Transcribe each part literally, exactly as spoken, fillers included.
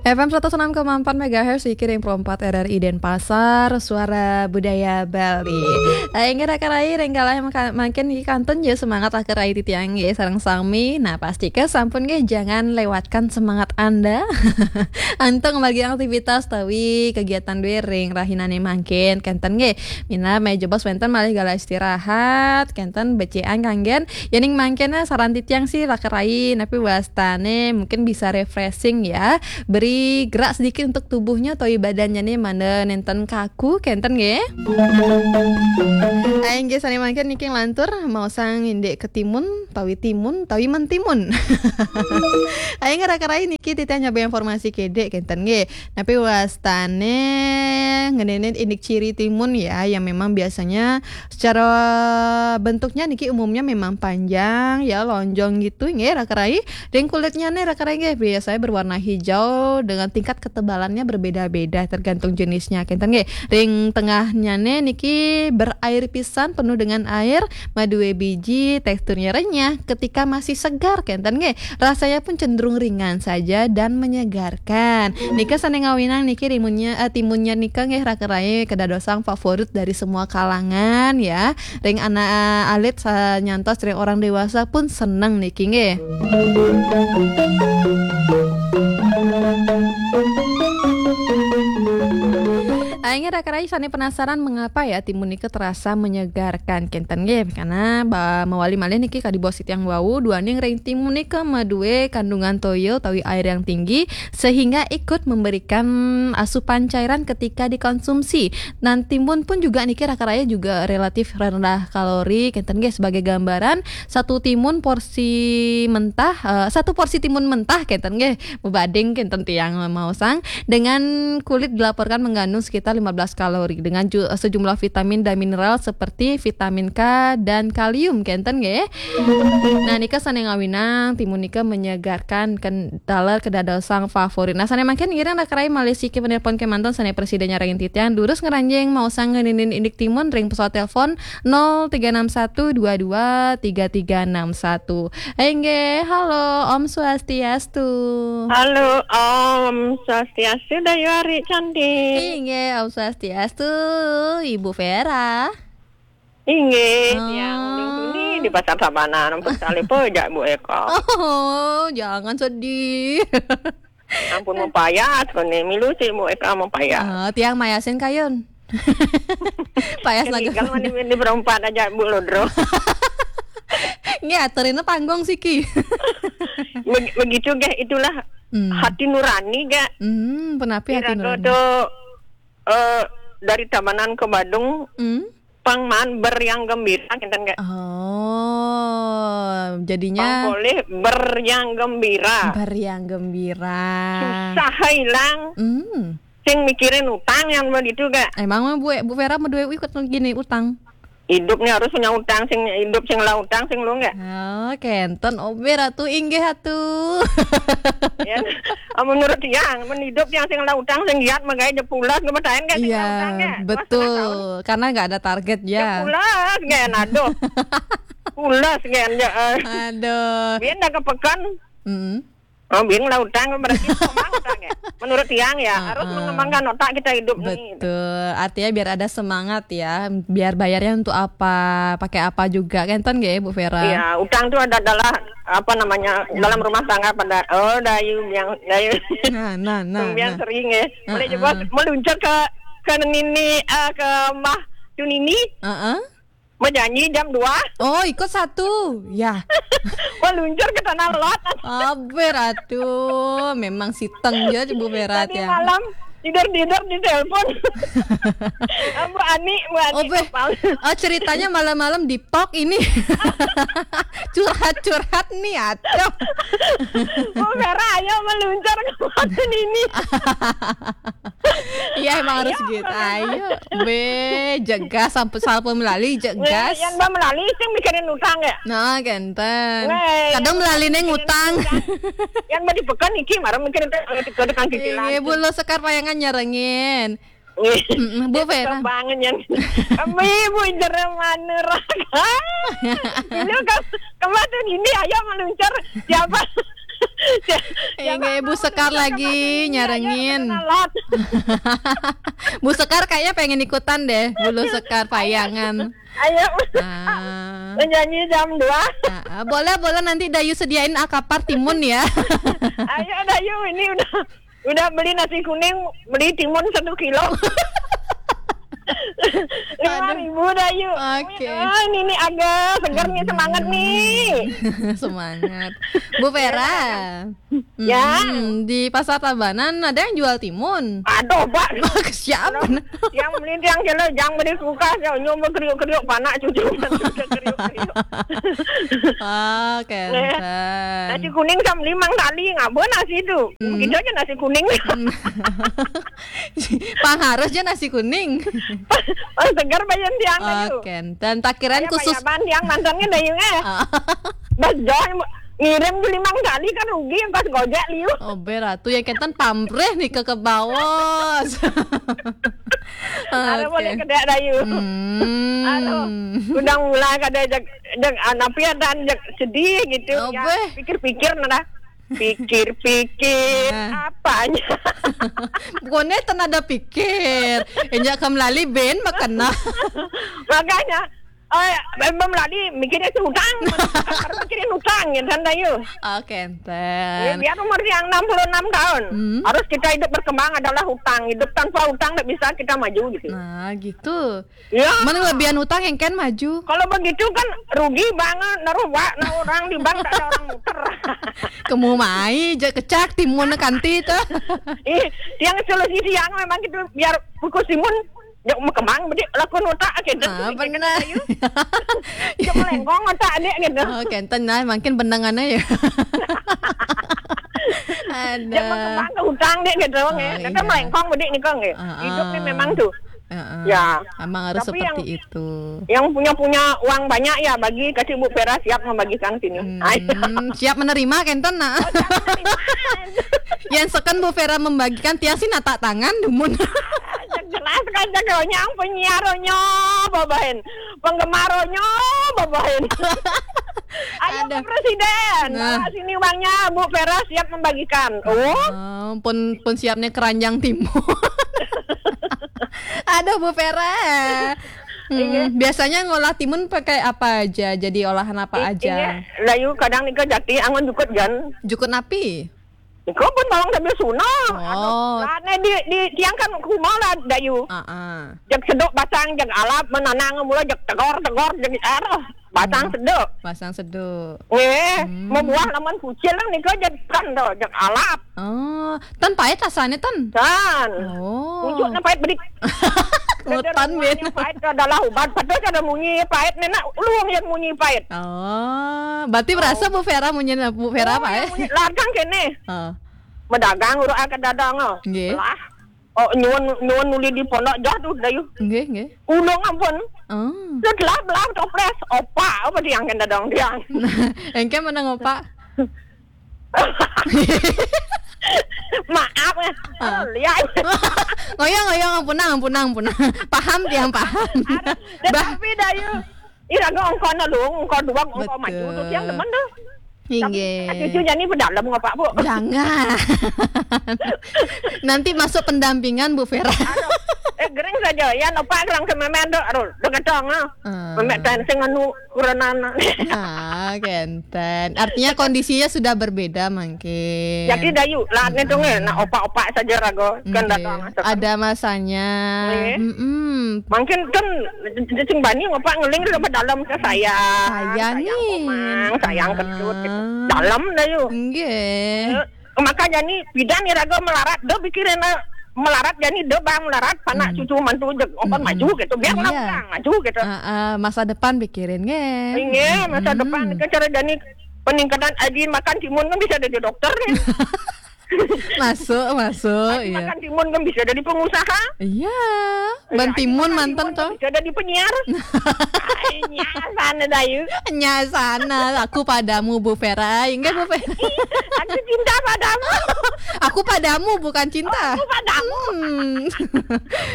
F M seratus enam koma empat megahertz, Suiki ring Pro empat R R I Denpasar, Suara Budaya Bali. Eh, inggih raka rai, ring galah maka-, mangkin niki kantun ja semangat raka rai titiang nggih sareng sami. Nah, pastika sampun nggih, jangan lewatkan semangat Anda. Antuk ngamargiang aktivitas tawi kegiatan duwe ring rahinane mangkin, kenten nggih. Minab menawi jebos wenten malih galah istirahat, kenten becikan kanggen. Yening mangkin, eh, saran titiang sih raka rai, napi wastane mungkin bisa refreshing ya. Beri gerak sedikit untuk tubuhnya utawi badannya nih, mangda nenten kaku, kenten nggih. Ayo nggih, sane mangkin niki nglantur, maosang indik ke timun, tawi timun, tawi mentimun. Ayo nggih raka rai niki titiang nyabang informasi kedek, kenten nggih. Napi wastane ngeninin indik ciri timun ya, yang memang biasanya secara bentuknya niki umumnya memang panjang ya, lonjong gitu nggih raka rai. Ring kulitnya nih raka rai nggih biasanya berwarna hijau dengan tingkat ketebalannya berbeda-beda tergantung jenisnya. Kenten nggih. Ring tengahnya nih niki berair pisan, penuh dengan air, madue biji, teksturnya renyah ketika masih segar, kenten nggih. Rasanya pun cenderung ringan saja dan menyegarkan. Nika sane ngawinang niki rimunnya, eh, timunnya nika nggih raka rai kedadosang favorit dari semua kalangan ya. Ring anak alit sa-, nyantos ring orang dewasa pun seneng niki nggih. Ayo nggih raka rai sane penasaran mengapa ya timun nika terasa menyegarkan, kenten nggih. Karena ba-, mawali malih niki kadi bos titiang wau, duaning ring timun nika madue kandungan toya utawi air yang tinggi sehingga ikut memberikan asupan cairan ketika dikonsumsi. Dan timun pun juga niki raka rai juga relatif rendah kalori, kenten nggih. Sebagai gambaran, satu timun porsi mentah, eh, satu porsi timun mentah, kenten nggih, mabanding kenten tiang maosang, dengan kulit dilaporkan mengandung sekitar lima belas kalori dengan ju-, sejumlah vitamin dan mineral seperti vitamin K dan kalium, kenten nggih. Nah, nika sane ngawinang timun nika menyegarkan, ken-, taler kedadosang favorit. Nah, sane mangkin ngiring raka rai malih siki penelpon kemanten sane prasida nyarengin titiang, durus ngranjing maosang ngeninin indik timun ring pesawat telepon nol tiga enam satu dua dua tiga tiga enam satu. Inggih, halo, Om Swastiastu. Halo, Om Swastiastu, Dayu Ari cantik. Inggih, Om Swastiastu, Ibu Vera. Inggih, oh, tiang ulun tuni di Pasar Tabanan, ampun salib aja, Bu Eka. Oh, jangan sedih. Ampun, mapayas kone, milu sih, Bu Eka, mapayas. Ah, tiang mayasin kayun. Payas lagu. Kan mani di berempat aja, Bu Lodro. Nggih, aturina panggung siki. Beg-, begitu, geh, itulah, hmm, hati nurani, geh. Hmm, penapi hati nurani? Iraga to, eh, dari Tabanan ke Badung, hmm, pang maan beriang gembira, kinten, geh. Oh, jadinya pang polih beriang gembira. Beriang gembira. Susah hilang. Hmm. Sing mikirin utang yang begitu, geh. Emang mah Bu, Bu Vera madue ikut gini utang? Hidup nih harus punya utang, sing hidup sing lah utang, sing lu nggak? Oh, kenten, obe Ratu, inggih Ratu. Ya, ah, menurut tiang, men hidup yang sing lah utang, sing giat, magaya je pulas, nggak percaya nggak sing lah utang, nggak? Iya, betul. Karena nggak ada target, ya. Je pulas, nggak, aduh. Pulas, nggak, ya, eh. Aduh. Biar dah ke pekan. Mm-mm. Oh, bin lah utang berarti utang, ya. Menurut tiang ya, harus, heeh, mengembangkan otak kita hidup nih. Betul. Artinya biar ada semangat ya, biar bayarnya untuk apa, pakai apa juga, kenten nggih, Bu Vera? Iya, utang tuh ada adalah, apa namanya, dalam rumah tangga pada, oh, Dayu yang, Dayu. Nah, nah, nah, yang nah. Sering ya. Boleh, heeh, coba meluncur ke, ke Nini, eh, ke Mbah Junini. Heeh. Menyanyi jam dua. Oh, ikut satu. Ya. Meluncur ke Tanah Lot. Aber, aduh, memang siteng aja Bu Vera. Tadi ya. Malam tidur-tidur di telepon. Bu Ani, Bu Ani. Oh, be-, oh, ceritanya malam-malam di pok ini. Curhat-curhat nih, aduh. Bu Vera, ayo meluncur ke Batu ini. Iya, emang harus gitu. Ayo, be, jegas, sampai salpun melali, jegas. Yang ba melali, sing mikirin utang ya? Nah, kenten. Kadang melali neng utang. Yang mau dipekan iki, marah mikirin utang, ada tukang cicilan. Iya, Bu, lo Sekar Payangan nyarengin. Mm-mm, Bu Vera. Bangun yang, kami Bu Jero Manuraka. Ini ke-, kemana ini, ayo meluncur. Siapa? Inggih, Bu Sekar lagi nyarengin. Bu Sekar kayaknya pengen ikutan deh, Bu Sekar Payangan. Ayo. Ah. Menyanyi jam dua. Ah, ah. Boleh, boleh, nanti Dayu sediain akapar timun ya. Ayo Dayu, ini udah udah beli nasi kuning, beli timun satu kilo. Lima ribu Dayu. Oke. Ah, ini nih agak segar nih, semangat nih. Semangat. Bu Vera. Ya. Hmm, di Pasar Tabanan ada yang jual timun. Aduh, Pak. Siapa? Yang beli tiang kena, jangan beli kulkas, ya, nyoba kriuk-kriuk, panak cucu, kriuk-kriuk. Oke. Nasi kuning sama limang tali, nggak boleh nasi itu. Hmm. Begitu aja nasi kuning. Pang harus aja nasi kuning. Oh, segar bayan tiang itu. Oke, dan takiran khusus. Bayaban tiang mantannya Dayu, eh. Bas John ngirim tu limang kali kan rugi, yang kos gojek liu. Oh, berat. Tu yang kenten pamreh nih ke, ke bawah. Ada boleh kedek Dayu. Hmm. Aduh, udah mulai kada jak, jak, ah, napi ada jak sedih gitu. Oh, ya, pikir-pikir nah. Pikir-pikir apanya? Bukannya tenada pikir. Enjak kam lali ben makena. Makanya, oh, ya, belum lali mikirnya si utang. Baru mikirin utang ya, santai yuk. Oke, enten. Ya, biar umur yang enam puluh enam tahun, harus kita hidup berkembang adalah utang. Hidup tanpa utang nggak bisa kita maju gitu. Nah, gitu. Ya. Mana lebihan utang yang kan maju. Kalau begitu kan rugi banget, naruh wa, naruh orang di bank tak ada orang muter. Kamu mai, je kecak timun kanti tu. Ih, yang solusi siang memang gitu, biar kukus timun, jak mau kembang, bedi lakun otak gitu. Ah, benar. Cuma lengkong otak adik gitu. Oh, kenten nah, makin benangan aja. Ada. Jak mau kembang ke utang dek gitu, oh, ya. Kita melengkong bedi ni kong ya. Hidup ni memang tu. Ya. Emang harus seperti itu. Yang punya-punya uang banyak ya, bagi kasih Bu Vera siap membagikan sini. Hmm, siap menerima kenten nah. Yang seken Bu Vera membagikan tiang sih natak tangan dumun. Jelas kan jaganya penyiaronyo babahin. Penggemarnya babahin. Ayo ke presiden. Nah. Bawa sini uangnya, Bu Vera siap membagikan. Oh. Ah, pun pun siapnya keranjang timun. Aduh, Bu Vera. Hmm, biasanya ngolah timun pakai apa aja? Jadi olahan apa aja? Layu kadang nika jati angon jukut jan. Jukut napi? Nika pun bawang sambil sunah. Oh. Anu, lah, ne di, di tiang kan rumah lah Dayu. Ah, ah. Jak sedok batang, jak alap, menanang mula jak tegor-tegor, jak aroh. Batang sedok. Batang sedok. Eh, membuah laman kucil lah nika jak kan tu, jak alap. Oh, tan pahit rasanya tan. Tan. Oh. Pucuknya pahit bedik. Hutan ben. Pahit adalah ubat. Padahal kada munyi pahit, nenak luang yang munyi pahit. Oh, berarti berasa Bu Vera munyi, Bu Vera apa eh? Ladang kene. Oh. Medagang urang akan dadang ah. Nggih. Lah. Oh, nyuwun nyuwun nuli di pondok jah tu Dayu. Nggih, nggih. Ulung ampun. Oh. Setelah belah toples, opak apa tiang kan dadang tiang. Engke menang opak. Maaf ya. Ah. Lihat. Ngoyong, ngoyong, ampunang, ampunang, ampunang. Paham tiang paham. Tetapi Dayu, ira ngongkon lu, ngongkon dua, ngongkon maju tu tiang teman tu. Inggih. Cucu jani pedalem ngapa, Bu? Jangan. Nanti masuk pendampingan, Bu Vera. Aduh, eh, gering saja. Ya, nopak gerang sememen tu. Aduh, degetong ah. Ah. Memek tan sing anu kurenan. Ah, kenten. Artinya kondisinya sudah berbeda mungkin. Jadi Dayu, lah ni tu nge, nak opak-opak saja raga. Kan datang. Ada masanya. Mungkin kan cacing bani ngapa ngeling dalam ke sayang. Sayang ni. Sayang omang, sayang ketut. Dalam Dayu. Nggih. Maka jani pidan iraga melarat, do pikirin melarat jani do bang melarat, panak cucu mantu je, opan maju gitu. Biar lah orang maju gitu. Ah, ah, masa depan pikirin nggih. Inggih, masa depan ke cara jani peningkatan aji makan timun kan bisa jadi dokter nih. Masuk, masuk, iya. Makan timun kan bisa jadi pengusaha. Iya, ban timun mantan toh. Bisa jadi penyiar. Ai, nyasana Dayu. Nyasana, aku padamu Bu Vera. Enggak Bu Vera. Aku cinta padamu. Aku padamu bukan cinta. Oh, aku padamu. Hmm.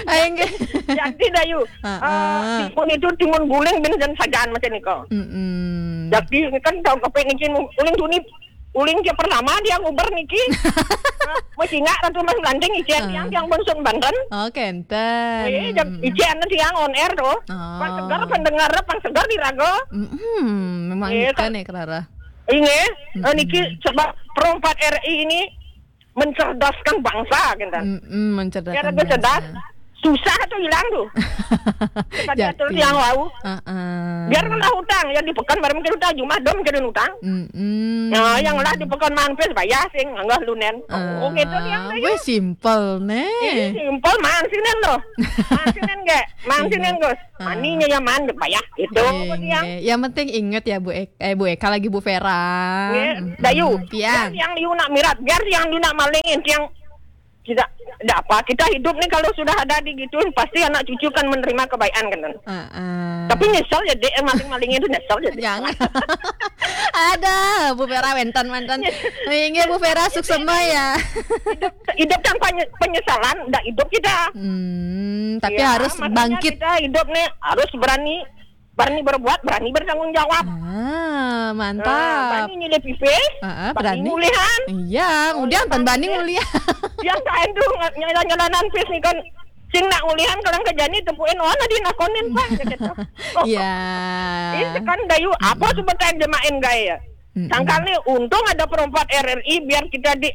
Ai, enggak. Jadi Dayu. Heeh. Eh, timun itu timun guling bin dan sajan macam ni kau. Mm-mm. Jadi kan tahu kepik ni timun guling tu ni Uling ke pertama dia nguber niki. Masih ingat Ratu Mas Blanding, icen tiang, tiang Bunsun Banten. Oh, kenten. Eh, jam icen tiang on air tuh. Oh. Pan segar pendengar, pan segar diraga. Mm-mm, memang eh, ikan ya, Clara. Ini, eh, niki sebab Pro empat R I ini mencerdaskan bangsa, kenten. Mm-mm, mencerdaskan bangsa. Biar lebih cerdas, susah tuh hilang tuh. Kata dia tuh yang wau. Biar kena utang, yang di pekan barang mikir utang, jumah dom mikir utang. Mm-mm. Nah, yang lah di pekan mampir bayar sing, anggah lunen. Oh, gitu yang. Weh, simple, nih. Ini simple, man sinen loh. Man sinen gak? Man sinen, Gus. Maninya ya man, bayar. Itu yang. Yang penting inget ya, Bu Eka, eh, Bu Eka lagi, Bu Vera. Dayu, biar yang liu nak mirat, biar yang liu nak malingin, yang kita, tidak apa, kita hidup nih kalau sudah ada di gituin, pasti anak cucu kan menerima kebaikan, kan. Tapi nyesel ya, Dek, maling-malingnya itu nyesel ya, Dek. Jangan. Ada, Bu Vera wenten, wenten. Inggih, Bu Vera, suksema ya. Hidup, hidup tanpa penyesalan, tidak hidup kita. Hmm, tapi ya, harus bangkit. Kita hidup nih harus berani, berani berbuat, berani bertanggung jawab. Ah, mantap. Berani nyilih pipis, berani ngulihan. Iya, ngulihan pan berani ngulihan. Yang kain tuh nyala-nyalanan pis nih kan. Sing nak ngulihan kalau kerja nih tepuin, oh, nanti nakonin, Pak, gitu. Iya. Ini kan dayu apa sebetulnya jemain gaya? Sangkal nih, untung ada Pro empat R R I, biar kita di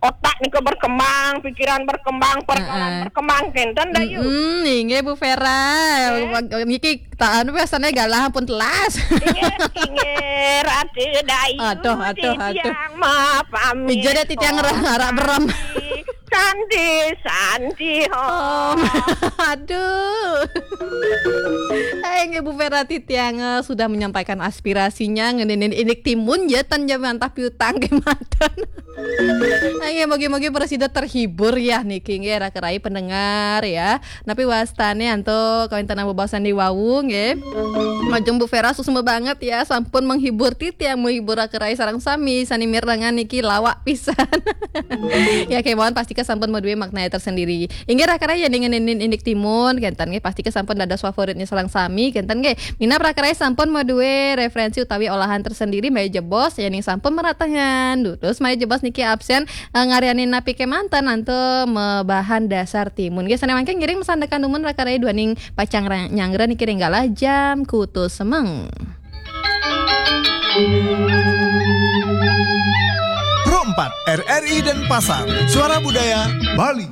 otak nih ke berkembang, pikiran berkembang, persoalan berkembang, kenten dayu. Hmm, inggih, Bu Vera. Niki tak anu, biasanya galah pun telas. Inggih, inggih, Ratu Dayu. Aduh, aduh, aduh. Titiang mau pamit. Ijo deh titiang arak berem. Santi, Santi, hom. Aduh. Hai, inggih, Bu Vera titiang, eh, sudah menyampaikan aspirasinya ngeninin indik timun, ya, tan jam antah piutang ke matan. Nah, ya, mogi-mogi presida terhibur ya niki, nggih, raka rai pendengar ya. Tapi wastane antuk kawintenan bebaosan di wau, nggih. Majeng Bu Vera, suksma banget ya, sampun menghibur titiang, menghibur raka rai sareng sami sane mirengang niki, lawak pisan. Ya, kemawon pasti sampun maduwe makna tersendiri. Inggih, raka rai, yen ngeninin indik timun kenten nggih, pasti sampun dados favoritnya sareng sami kenten nggih. Minab raka rai sampun maduwe referensi utawi olahan tersendiri, mbae jebos yen sampun meratangan. Terus mbae jebos niki absen, eh, ngaryani napi kemanten antuk mabahan dasar timun. Nggih, sane mangke ngiring masandekan dumun raka rai duaning pacang ra-, nyanggra niki ring galah jam kutus semeng. Pro empat, R R I Denpasar, Suara Budaya Bali.